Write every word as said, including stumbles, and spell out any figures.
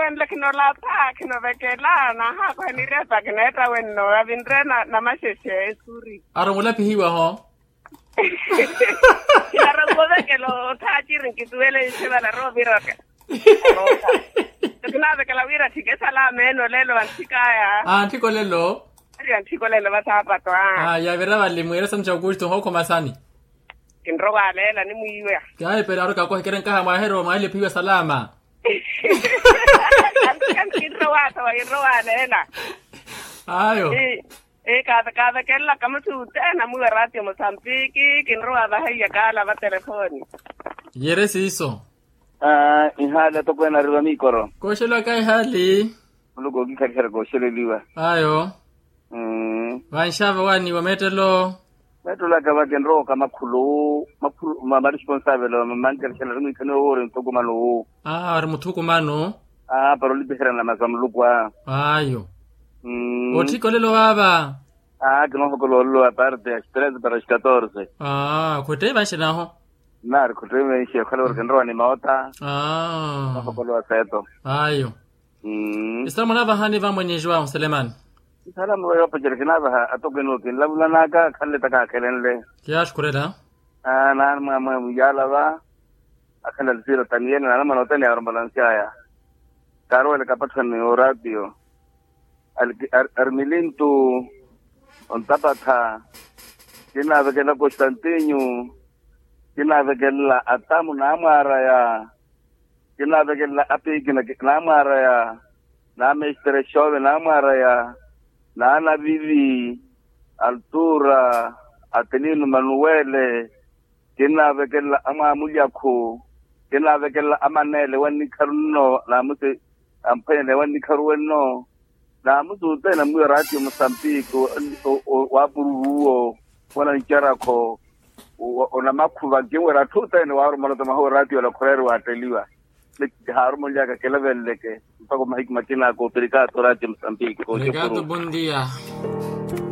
Enle khinolapha khinovekela nahaakhuhanirepa khineetta wenno avinre namaxexe esuri. Arumulapihiwaho. Kinarokuwovekela othaaciri nkisuwele nxivala rooviraka. Kinaavekela wira thike salama ene olelo anthikaya. Anthiko lelo. Ari anthiko lelo vasaapato a. Yavira vali mwiira sani ca okusto nhookhoma sani. Kinrowa aleela nimwiiwa. Kaahipela ari kakohekere nkaha mwaahero mwaahile phiiwa salama. Anthika nkinrowa ata wainrowa aleela. Ayo. Kavekelelaka musi uteena mwiiwa ratio mosambiki kinrowa vahaiya kaala vatelefoni. Yere siiso. Ihaali atokweene ari vamikoro. Kooxelwaka ihaali. Muluku ookikhalihela kooxeleliwa. Ayo. Vanxava waaniwa meettelo. Meettelo aka vakinrooka makhulu. Makhulu ma responsavelo mamankerexela ari mwiikhaniwa woori muthukumano wu. Aa ari muthukumano. Aa para olipiherya nama sa muluku a. Ayo. Otthika olelo waava. Aa kinoohokola olelo wa parte ya strese para as catorze. Aa khwetteyi vanxenaaho. Nnaari khuttiwe menxi okhala ori kinrowa ni moota. Ohokolowa seeto. Ayo. Isalamu naavahani vamwene joão selemani. Isalamu va yoopacela kinaavaha atokweene okinlavulanaka akhanle takakhelenle. Kiyaaxukhurela. Naani mwamwe muyaalava. Akhanle alisira taniyene naani mwana othene yaaromolansyaya. Kaaruwele kapatthani oraatiyo. Arimilintu, ontapatha, kinaavekelela constantinho, kinaavekelela atamu naamwaaraya, kinaavekelela apikina naamwaaraya, naamestere xove naamwaaraya, naanavivi, altura, atilino manuwele, kinaavekelela amwaamulyakhu, kinaavekelela amaneele wannikharu nno naamusi, amphwanyane wannikharu wenno. Naamusi othene mwiiwa raatiyo musambiki, waapururu uwo, wanancarakho, onamakhuva nkinwerya atthu othene waarumola ota mahuwa raatiyo ola khureeriwa atteliwa. Haarumoliyaka kilavenleke mpakha omahiku makina ako operikato raatiyo musambiki kooxekuru.